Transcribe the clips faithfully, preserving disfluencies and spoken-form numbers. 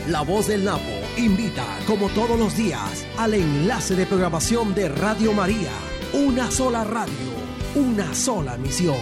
La Voz del Napo invita, como todos los días, al enlace de programación de Radio María. Una sola radio, una sola misión.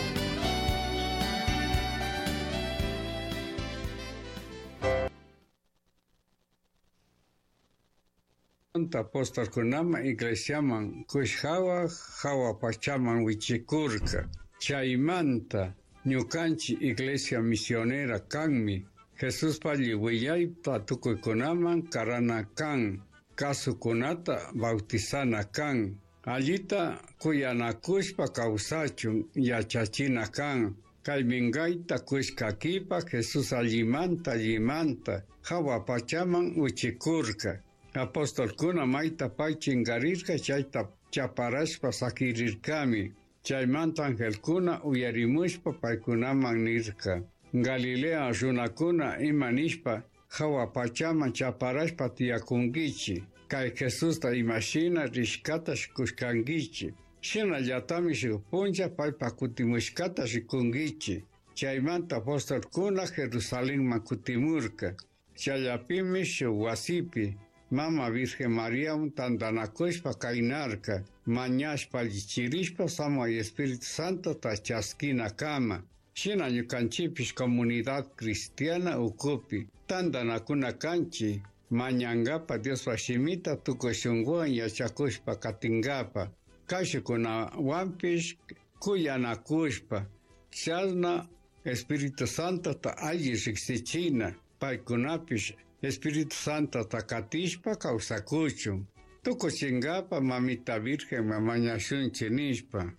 Apostolkunama iglesiaman kushhawa hawa pachaman wichikurka. Chaymanta ñukanchik iglesia misionera kanmi. Jesús willayta tukuykunaman karana kan, kasukunata bautizana kan, allita kuyanakushpa kawsachun yachachina kan. Kay minkayta kushkakipa Jesús allimanta allimanta hawa pachaman wichikurka. Apostolkuna mayta pay chinkarirka chayta chaparashpa sakirirkami. Chaymanta angelkuna uyarimushpa paykunaman nirka. Galilea runakuna ima nishpa hawa pachaman chaparashpa tiyakunkichik. Kay Jesusta imashina rishkata rikushkankichik. Shinallatami shuk punlla paypa kutimushkata rikunkichik. Chaymanta apostolkuna Jerusalenman kutimurka. Chayapimi shuk wasipi Mama Virgen María tantanakushpa kaynarka, mañashpa allichirishpa Samay Espíritu Santo ta chaskina kama. Shina ñukanchikpish comunidad cristiana ukupi tantanakuna kanchik, mañankapa Diospa shimita tukuy shunkuwan yachakushpa katinkapa, kashukunawanpish kuyanakushpa, chashna Espíritu Santo ta alli riksichina, paykunapish Espíritu Santo ta katishpa kawsakuchun. Tukuchinkapa Mamita Virgen mañashunchik nishpa.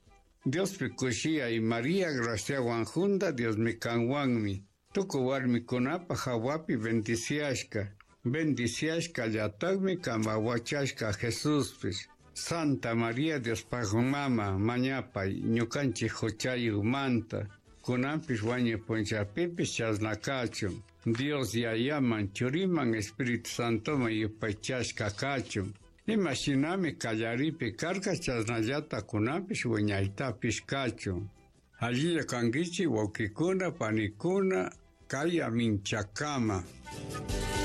Diospi kushiyay María graciawan hunda Diosmi kanwanmi. Tukuy warmikunapa hawapi bendiciashka. Bendiciashka llatakmi kanpa wachashka Jesuspish. Santa María Diospaj mama mañapay ñukanchik huchayukmanta. Kunanpish wañuy punllapipish chashna kachun. Dios Yayaman, Churiman, Espíritu Santoman yupaychashka kachun. Imashinami kallaripi karka chashnallata kunanpish wiñaytapish kachun. Allilla kankichik wawkikuna, panikuna, kay aminchakama.